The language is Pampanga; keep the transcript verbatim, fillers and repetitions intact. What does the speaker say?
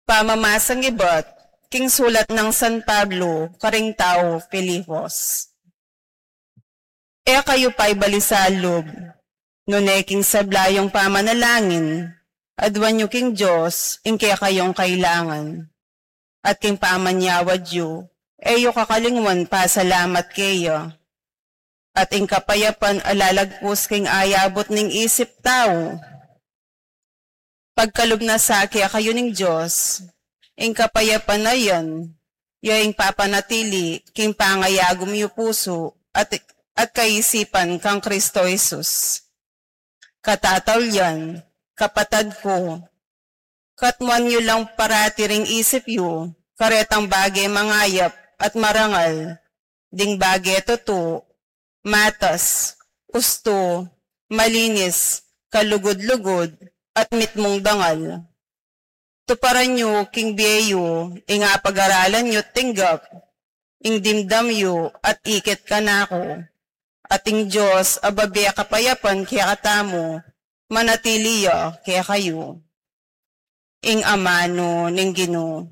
Pamamasang ibat king sulat nang San Pablo karing tau Filipos. E kayu paibalisa lub, nune king sabla yung pamanalangin, aduan yu king Dios ing kekayung kailangan. At king pamanyawad yu, e yu kakalingwan pasalamat keya. At ing kapayapan a lalagpus king ayabut ning isip tau, pagkalub na sa kekayu ning Dios. Ing kapayapan a yan, ya ing papanatili king pangayagum yu pusu at, at kaisipan kang Kristo Jesus. Katataulian, kapatad ku, katmuan yu lang parati ring isip yu karetang bage mangayap at marangal, ding bage tutu, matas, ustu, malinis, kalugud-lugud, at mitmung dangal. Tuparan yu king bie yu ing apagaralan yu tinggap, ing dimdam yu at ikit kanaku. At ing Dios a babie kapayapan kekatamu, manatili ya kekayu. Ing amanu ning Ginu.